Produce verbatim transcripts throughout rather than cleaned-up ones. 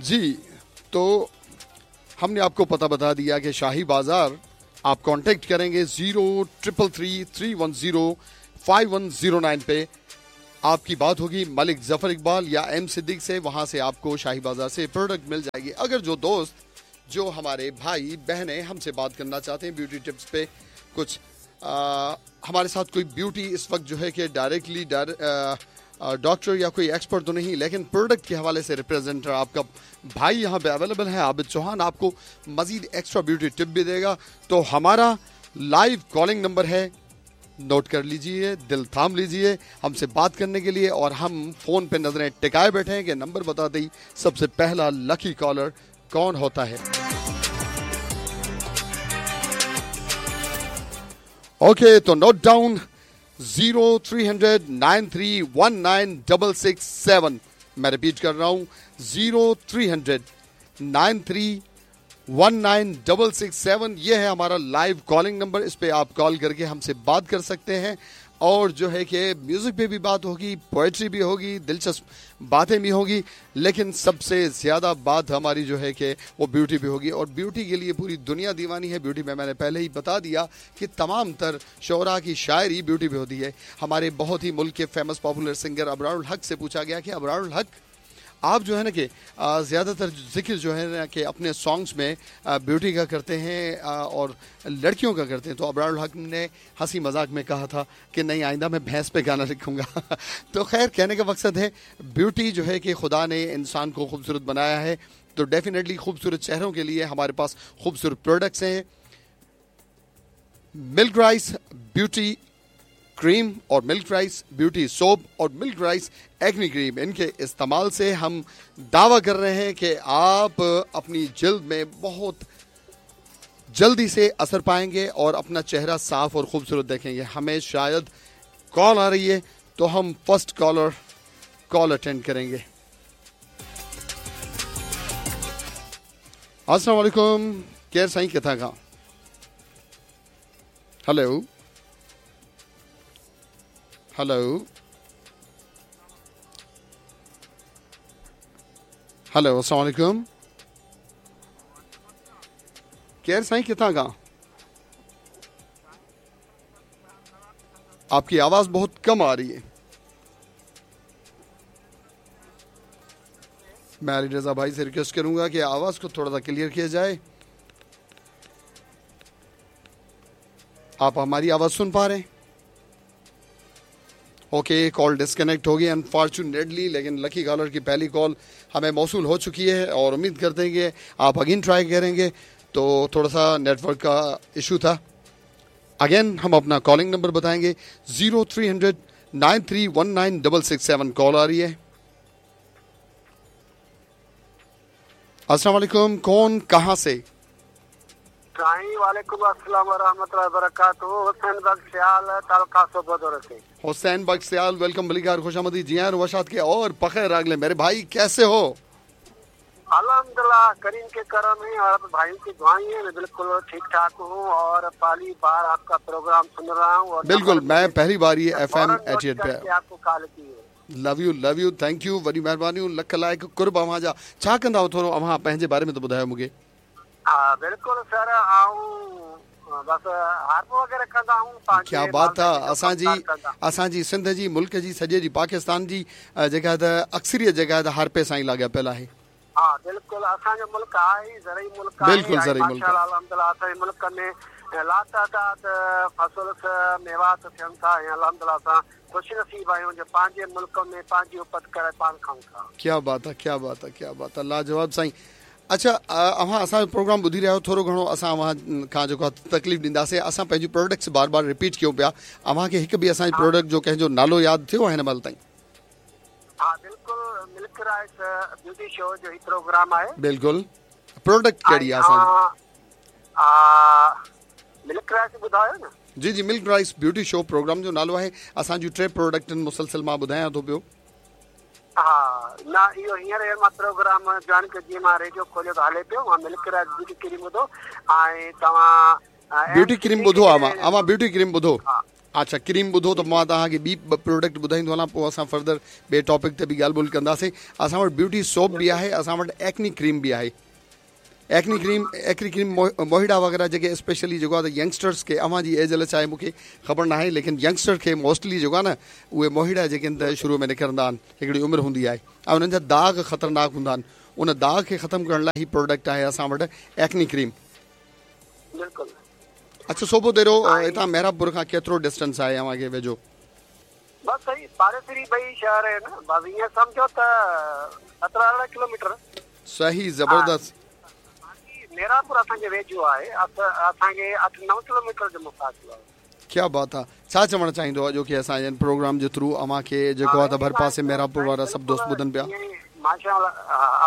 जी, तो हमने आपको पता बता दिया कि शाही बाज़ार आप कांटेक्ट करेंगे zero triple three three one zero five one zero nine पे आपकी बात होगी मलिक जफर इकबाल या एम सिद्दीक से। वहाँ से आपको शाही बाज़ार से प्रोडक्ट मिल जाएगी। अगर जो दोस्त, जो हमारे भाई बहनें हमसे बात करना चाहते हैं ब्यूटी टिप्स पे, कुछ आ, हमारे साथ कोई ब्यूटी इस वक्त जो है कि डायरेक्टली डॉक्टर या कोई एक्सपर्ट तो नहीं, लेकिन प्रोडक्ट के हवाले से रिप्रेजेंटर आपका भाई यहाँ पे अवेलेबल है, आबिद चौहान, आपको मज़ीद एक्स्ट्रा ब्यूटी टिप भी देगा। तो हमारा लाइव कॉलिंग नंबर है, नोट कर लीजिए, दिल थाम लीजिए हमसे बात करने के लिए। और हम फ़ोन पे नज़रें टिकाए बैठे हैं कि नंबर बता दी सबसे पहला लकी कॉलर कौन होता है। ओके, तो note down zero three hundred nine three one nine double six seven. मैं रिपीट कर रहा हूँ, zero three hundred nine three one nine double six seven. ये है हमारा लाइव कॉलिंग नंबर। इस पे आप कॉल करके हमसे बात कर सकते हैं और जो है कि म्यूज़िक पे भी बात होगी, पोइट्री भी होगी, दिलचस्प बातें भी होंगी, लेकिन सबसे ज़्यादा बात हमारी जो है कि वो ब्यूटी भी होगी। और ब्यूटी के लिए पूरी दुनिया दीवानी है। ब्यूटी में मैंने पहले ही बता दिया कि तमाम तर शोरा की शायरी ब्यूटी भी होती है। हमारे बहुत ही मुल्क के फेमस पॉपुलर सिंगर अबरारुल हक से पूछा गया कि अबरारुल हक, आप जो है ना कि ज़्यादातर जिक्र जो है ना कि अपने सॉन्ग्स में ब्यूटी का करते हैं और लड़कियों का करते हैं, तो अबरारुल हक ने हंसी मजाक में कहा था कि नहीं, आइंदा मैं भैंस पे गाना लिखूँगा। तो खैर, कहने का मकसद है ब्यूटी जो है कि खुदा ने इंसान को खूबसूरत बनाया है, तो डेफिनेटली खूबसूरत चेहरों के लिए हमारे पास खूबसूरत प्रोडक्ट्स हैं। मिल्क राइस ब्यूटी क्रीम और मिल्क राइस ब्यूटी सोप और मिल्क राइस एक्नी क्रीम, इनके इस्तेमाल से हम दावा कर रहे हैं कि आप अपनी जिल्द में बहुत जल्दी से असर पाएंगे और अपना चेहरा साफ और खूबसूरत देखेंगे। हमें शायद कॉल आ रही है, तो हम फर्स्ट कॉलर कॉल अटेंड करेंगे। अस्सलाम वालेकुम, केर साईं किथां खां? हेलो हेलो हेलो, अस्सलाम वालेकुम, केर साईं किथां खां? आपकी आवाज़ बहुत कम आ रही है। मैं अली रज़ा भाई से रिक्वेस्ट करूंगा कि आवाज़ को थोड़ा सा क्लियर किया जाए। आप हमारी आवाज़ सुन पा रहे हैं? ओके, कॉल डिस्कनेक्ट हो गई अनफॉर्चुनेटली, लेकिन लकी कॉलर की पहली कॉल हमें मौसूल हो चुकी है और उम्मीद करते हैं कि आप अगेन ट्राई करेंगे। तो थोड़ा सा नेटवर्क का इशू था। अगेन हम अपना कॉलिंग नंबर बताएंगे, zero three hundred nine three one nine double six seven. Call आ रही है। अस्सलाम वालेकुम, कौन कहाँ से? वालेकुम अस्सलाम व रहमतुल्लाहि व बरकातहू। हुसैन बख्श सियाल, तालुका सोबोदर से। हुसैन बख्श सियाल, welcome बलिकार, खुशामदी जी आन वशात के और पखैर आगले मेरे भाई, कैसे हो? अल्हम्दुलिल्लाह, करीम के करम है और भाई की दुआएं हैं, मैं बिल्कुल ठीक ठाक हूँ और पहली बार आपका प्रोग्राम सुन रहा हूँ। और बिल्कुल मैं पहली बार ये एफ एम एटी एट पे आपको कॉल की है। Love you, love you, thank you, वॾी महिरबानी, लख लाइक़ कुर्ब अव्हां जा। छा कंदा आहियो? थोरो अव्हां पंहिंजे बारे में त ॿुधायो मूंखे। हा बिल्कुलु सर, आऊं बस हार्पो वग़ैरह कंदा आहियूं। क्या बात आहे। असांजी असांजी सिंध जी, मुल्क जी, सॼे जी पाकिस्तान जी जेका त अक्सरियत जेका त हार्पे सां ई लाॻापियल आहे। हा बिल्कुलु, असांजो मुल्क आहे ज़रई मुल्क आहे। बिल्कुलु ज़रई मुल्क। अल्हम्दुलिल्लाह असांजे मुल्क में लातादाद फसल मेवात थियनि था ऐं अल्हम्दुलिल्लाह असां ख़ुश नसीब आहियूं जो पंहिंजे मुल्क में पंहिंजी उपत करे पाण खाऊं था। क्या बात आहे, क्या बात आहे, क्या बात आहे, लाजवाब साईं। अच्छा, अव्हां असांजो प्रोग्राम ॿुधी रहिया आहियो, थोरो घणो असां अव्हां खां जेको आहे तकलीफ़ ॾींदासीं। असां पंहिंजी प्रोडक्ट्स बार बार रिपीट कयूं पिया। अव्हांखे हिकु बि असांजे प्रोडक्ट जो कंहिंजो नालो यादि थियो आहे हिन महिल ताईं? हा बिल्कुलु, मिल्क राइस ब्यूटी शो जो ही प्रोग्राम आहे। बिल्कुलु, प्रोडक्ट कहिड़ी आहे असांजी? मिल्क राइस ॿुधायो न। जी जी, milk rice beauty show programme जो नालो आहे। असांजूं टे प्रोडक्ट आहिनि, मुसलसल मां ॿुधायां थो पियो। हा न, इहो हींअर मां प्रोग्राम जॉइन कयो, जीअं मां रेडियो खोलियो त हले पियो। मां मिल्क राइस ब्यूटी क्रीम ॿुधो ऐं तव्हां ब्यूटी क्रीम ॿुधो। अव्हां अव्हां ब्यूटी क्रीम ॿुधो। अच्छा क्रीम ॿुधो त मां तव्हांखे ॿी ॿ प्रोडक्ट ॿुधाईंदो हलां, पोइ असां फर्दर ॿिए टॉपिक ते बि ॻाल्हि ॿोल कंदासीं। असां वटि ब्यूटी सोप बि आहे, असां वटि एक्नी क्रीम बि आहे। एक्नी क्रीम एक्नी क्रीम मोहिड़ा वग़ैरह जेके स्पेशली जेको आहे त यंगस्टर्स खे, अव्हां जी एज अलाए छा आहे मूंखे ख़बर न आहे, लेकिन यंगस्टर खे मोस्टली जेको आहे न उहे मोहिड़ा जेके आहिनि त शुरू में निकिरंदा आहिनि, हिकिड़ी उमिरि हूंदी आहे ऐं उन्हनि जा दाग़ ख़तरनाक हूंदा आहिनि। उन दाग़ खे ख़तमु करण लाइ ही प्रोडक्ट आहे असां वटि एक्नी क्रीम। बिल्कुलु। अच्छा सोबो देरो हितां मेहराबपुर खां केतिरो डिस्टेंस आहे अव्हांखे वेझो? बसि सही पाड़ेसरी ॿई शहर आहिनि, बसि ईअं सम्झो त सत्रहं अरिड़हं किलोमीटर। सही ज़बरदस्त। मेहराबपुर असांजे वेझो आहे, असांखे अठ नव किलोमीटर जो मुफ़ासिलो आहे। क्या बात आहे। छा चवणु चाहींदो अॼोके असांजे प्रोग्राम जे थ्रू अव्हांखे जेको आहे त भरपासे मेहराबपुर वारा सभु दोस्त ॿुधनि पिया? माशाअल्लाह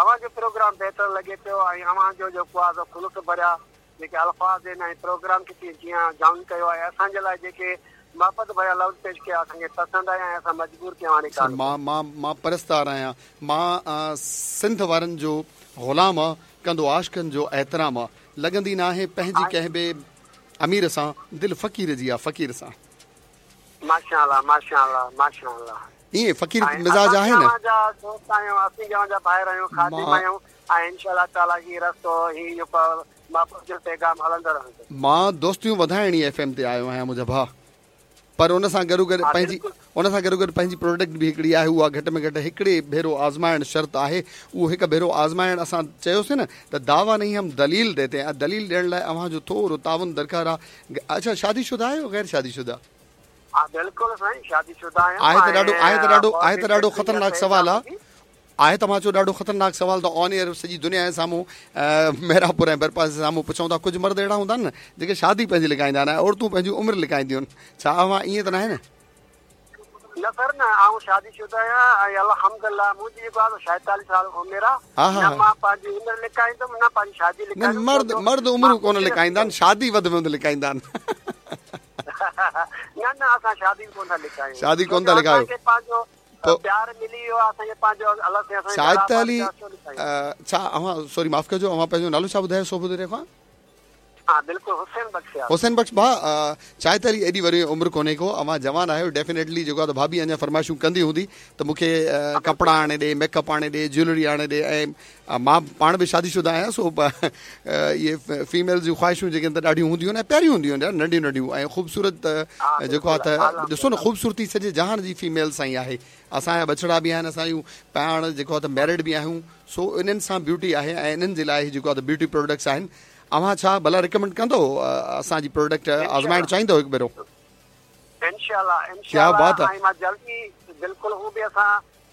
अव्हांजो प्रोग्राम बहितर लॻे पियो ऐं अव्हांजो जेको आहे ख़ुलूस भरिया जेके अल्फ़ाज़ आहिनि ऐं प्रोग्राम खे जीअं जॉइन कयो आहे, असांजे लाइ जेके मोहबत भरिया लफ़्ज़ पेश कया असांखे पसंदि आया ऐं असां मजबूर थिया हाणे। मां मां मां परस्तार आहियां, मां सिंध वारनि जो ग़ुलाम आहियां, कंदो आशिकनि जो एतिराम आहे, लॻंदी न आहे पंहिंजी कंहिं बि अमीर सां, दिलि फ़क़ीर जी आहे फ़क़ीर सां। माशाअल्लाह माशाअल्लाह माशाअल्लाह। ईअं फ़क़ीर मिज़ाज आहे न। दोस्त आहियूं, असीं अव्हांजा भाइर आहियूं, ख़ादिम आहियूं ऐं इंशाअल्लाह ताला ही रस्तो ही जेको जो पैगाम हलंदो रहंदो। मां दोस्तियूं वधाइण ई एफ एम ते आयो आहियां मुंहिंजा भाउ, पर उन सां गॾो गॾु पंहिंजी उन सां गॾो गॾु पंहिंजी प्रोडक्ट बि हिकिड़ी आहे, उहा घटि में घटि हिकिड़े भेरो आज़माइण शर्त आहे। उहो हिकु भेरो आज़माइण असां चयोसीं न त दावा नहीं हम दलील देते हैं, दलील ॾियण लाइ अव्हांजो थोरो ताउन दरकार आहे। अच्छा शादीशुदा आहियो ग़ैर शादीशुदा? बिल्कुलु साईं शादीशुदा आहियां। आहे त ॾाढो आहे त ॾाढो आहे त ॾाढो ख़तरनाक सवाल आहे, आहे त मां चयो ॾाढो ख़तरनाक सवाल त ऑन एयर सॼी दुनिया जे साम्हूं मेहराबपुर ऐं भरपासे जे साम्हूं पुछूं था। कुझु मर्द अहिड़ा हूंदा आहिनि न जेके शादी पंहिंजी लिकाईंदा आहिनि ऐं औरतूं पंहिंजी उमिरि लिकाईंदियूं आहिनि, छा अव्हां ईअं त न आहे न? न सर न, आउं शादीशुदा आहियां ऐं अल्हम्दुलिल्लाह मुंहिंजी जेको आहे छाएतालीह साल उमिरि आहे, न मां पंहिंजी उमिरि लिकाईंदुमि न पंहिंजी शादी लिकाईंदुमि। मर्द मर्द उमिरूं कोन लिकाईंदा आहिनि, शादी वधि में वधि लिकाईंदा आहिनि। न न असां शादी कोन था लिकायूं, शादी कोन था लिकायूं। पंहिंजो प्यार मिली वियो असांखे पंहिंजो अलाह साईं असांखे छाएतालीह। छा अव्हां सॉरी माफ़ कजो, अव्हां पंहिंजो नालो छा ॿुधायो सोबो खां? हा बिल्कुलु हुसैन बख़्श। हुसैन बख़्श भाउ, छाएतालीह एॾी वॾी उमिरि कोन्हे को, अव्हां जवान आहियो, डेफिनेटली जेको आहे त भाभी अञा फरमाइशूं कंदी हूंदी त मूंखे कपिड़ा आणे ॾे, मेकअप आणे ॾे, ज्वेलरी आणे ॾे। ऐं मां पाण बि शादीशुदा आहियां, सो इहे फीमेल जूं ख़्वाहिशूं जेके आहिनि त ॾाढियूं हूंदियूं आहिनि ऐं प्यारियूं हूंदियूं आहिनि, नंढियूं नंढियूं ऐं ख़ूबसूरत जेको आहे त ॾिसो न ख़ूबसूरती सॼे जहान जी फीमेल सां ई आहे। असांजा बछड़ा बि आहिनि, असांजूं पाण जेको आहे त मैरिड बि आहियूं, सो इन्हनि सां ब्यूटी आहे ऐं इन्हनि जे लाइ जेको आहे त ब्यूटी प्रोडक्ट्स आहिनि। अव्हां छा भला रिकमेंड कंदो असांजी प्रोडक्ट आज़माइण चाहींदो हिकु भेरो? इंशाअल्लाह क्या बात आहे। मां जल्दी बिल्कुल हू बि असां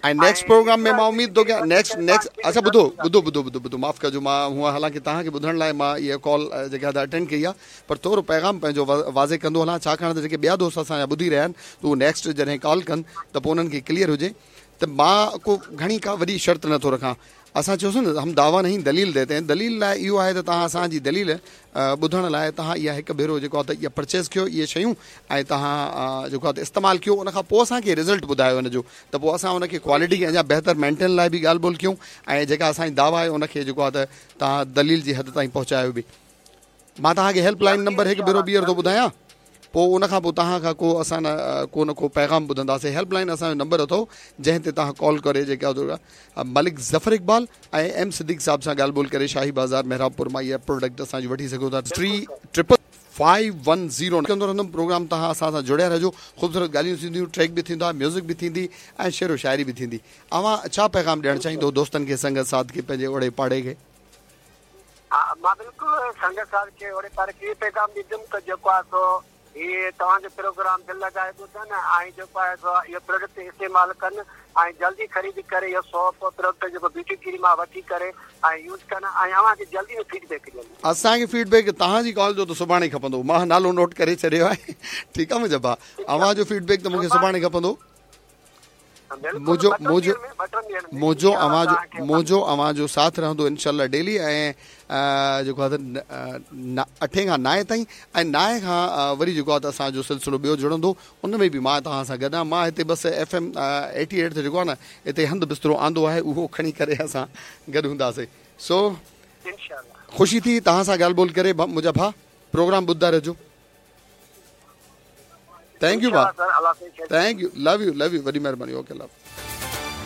ऐं नेक्स्ट प्रोग्राम में मां उम्मीद थो कयां नेक्स्ट नेक्स्ट अच्छा ॿुधो ॿुधो ॿुधो ॿुधो ॿुधो माफ़ कजो, मां हूअं हालांकि तव्हांखे ॿुधण लाइ मां इहा कॉल जेका अटेंड कई आहे, पर थोरो पैगाम पंहिंजो वाज़े कंदो हलां, छाकाणि त जेके ॿिया दोस्त असांजा ॿुधी रहिया आहिनि त उहो नेक्स्ट जॾहिं कॉल कनि त पोइ उन्हनि खे क्लियर हुजे त मां को घणी का वॾी शर्त नथो रखां। असां चयोसीं न हम दावा नहीं दलील देते हैं, दलील लाइ इहो आहे त तव्हां असांजी दलील ॿुधण लाइ तव्हां इहा हिकु भेरो जेको आहे त इहा परचेज़ कयो इहे शयूं ऐं तव्हां जेको आहे त इस्तेमालु कयो, उन खां पोइ असांखे रिज़ल्ट ॿुधायो हुनजो, त पोइ असां हुनखे क्वालिटी खे अञा बहितर मेंटेन लाइ बि ॻाल्हि ॿोल कयूं ऐं जेका असांजी दावा आहे उनखे जेको आहे त तव्हां दलील जी हद ताईं पहुचायो बि। मां तव्हांखे हेल्पलाइन नंबर हिकु भेरो ॿीहर थो ॿुधायां, पोइ उन खां पोइ तव्हां खां को असां न को न को पैगाम ॿुधंदासीं। हेल्पलाइन असांजो नंबर अथव जंहिं ते तव्हां कॉल करे जेका मलिक ज़फ़र इक़बाल ऐं एम सिद्दीक़ साहब सां ॻाल्हि ॿोल करे शाही बाज़ार मेहराबपुर मां इहा प्रोडक्ट असांजी वठी सघो था। Three triple five one zero कंदो रहंदुमि प्रोग्राम, तव्हां असां सां जुड़िया रहिजो। ख़ूबसूरत ॻाल्हियूं थींदियूं, ट्रैक बि थींदा, म्यूज़िक बि थींदी ऐं शेरो शाइरी बि थींदी। अव्हां छा पैगाम ॾियणु चाहींदो दोस्तनि खे, संगत साथ खे, पंहिंजे ओड़े पाड़े खे? हा मां बिल्कुलु संगत साथ खे ओड़े पाड़े खे पैगाम ॾींदुमि त जेको आहे सो इहे तव्हांजो प्रोग्राम दिलि लॻाए ॿुधनि ऐं जेको आहे सो इहो प्रोडक्ट इस्तेमालु कनि ऐं जल्दी ख़रीद करे इहो सोप प्रोडक्ट जेको ब्यूटी क्रीम आहे वठी करे ऐं यूज़ कनि ऐं अव्हांखे जल्दी में फीडबैक ॾियनि। असांखे फीडबैक तव्हांजी कॉल जो त सुभाणे खपंदो, मां नालो नोट करे छॾियो आहे। ठीकु आहे मुंहिंजा भाउ, अव्हांजो फीडबैक त मूंखे सुभाणे खपंदो। मुंहिंजो मुंहिंजो मुंहिंजो अव्हांजो मुंहिंजो अव्हांजो साथ रहंदो इनशाला डेली ऐं जेको आहे त अठे खां नाए ताईं ऐं नाए खां वरी जेको आहे त असांजो सिलसिलो ॿियो जुड़ंदो, उन में बि मां तव्हां सां गॾु आहियाँ। मां हिते बसि एफ एम एटी एट ते जेको आहे न हिते हंधु बिस्तरो आंदो आहे, उहो खणी करे असां गॾु हूंदासीं। सो ख़ुशी थी तव्हां सां ॻाल्हि ॿोल करे मुंहिंजा भाउ, प्रोग्राम ॿुधंदा रहिजो। Thank you भाउ। सर, अल्लाह साईं। Thank you, love you, love you, वॾी महिरबानी। Okay, love.